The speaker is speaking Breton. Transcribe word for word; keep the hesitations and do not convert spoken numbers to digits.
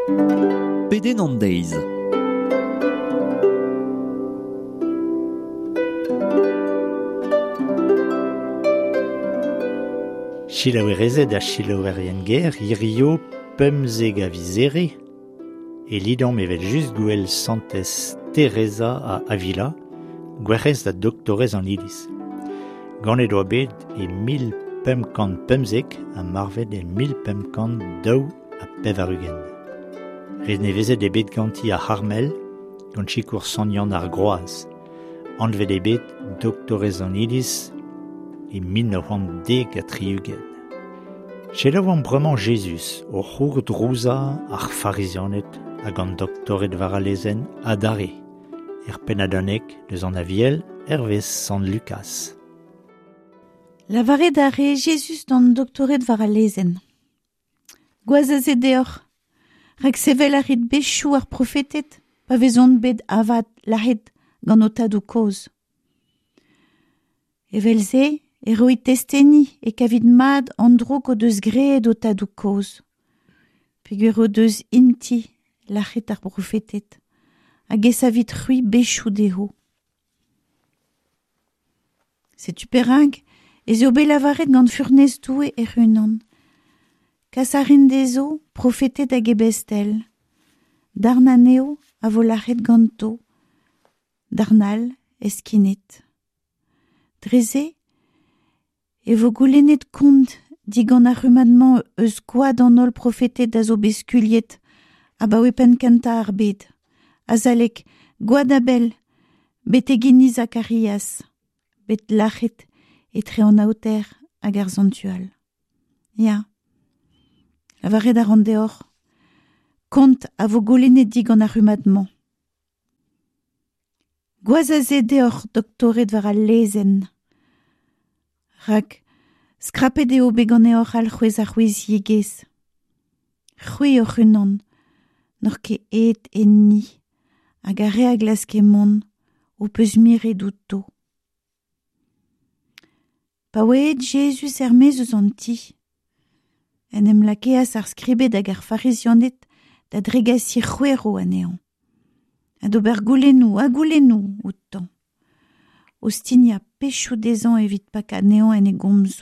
Pedenn an deiz. Selaouerezed ha selaouerien ger, hirio pemzek a viz Here, e lidomp evel just gouel santez Teresa a Avila, gwerc'hez da doktorez an Iliz. Ganet oa bet e mil pemp kant pemzek ha marvet e mil pemp kant daou ha pevar-ugent. Renevezet eo bet ganti ar C'harmel, gant sikour Sant Yann ar Groaz. Anvet eo bet doktorez an Iliz e mil nav c'hant dek ha tri-ugent. Selaouomp bremañ Jezuz o c'hourdrouzañ ar Farizianed hag an doktored war al lezenn adarre, er pennad-unnek deus an Aviel hervez Sant Lukaz. Lavaret a re Jezuz d'an doktored war al lezenn. Gwaz a se deoc'h, rak sevel a rit bezioù ar profeted pa vezont bet avat lazhet gant ho tadoù kozh. Evel-se e roit testeni e kavit mat an droug o deus graet ho tadoù kozh. Peogwir o deus int-i lazhet ar brofeted hag e savit c'hwi bezioù dezho. Setu perak ez eo bet lavaret gant furnez Doue hec'h-unan. Kas a rin dezho profeted hag ebestel. Darn anezho a vo lazhet ganto, darn all heskinet. Dre-se e vo goulennet kont digant ar rummad-mañ eus gwad an holl profeted a zo bet skuilhet abaoe penn-kentañ ar bed. Azalek gwad Abel, betek hini Zakarias, bet lazhet etre an aoter hag ar santual. Ya, lavaret a ran deoc'h, kont a vo goulennet digant ar rummad-mañ. Gwaz a se deoc'h doktored war al lezenn. Rak skrapet eo bet ganeoc'h alc'hwez ar c'houiziegezh. C'hwi hoc'h-unan, n'oc'h ket aet enni, hag ar re a glaske mont, ho peus miret outo. Pa oa aet Jezuz er-maez eus an ti, en em lakeas ar skribed hag ar farizianed da dregasiñ c'hwero anezhañ, ha d'ober goulennoù ha goulennoù outañ. O stignañ pechoù dezhañ evit pakañ anezhañ en e gomzoù.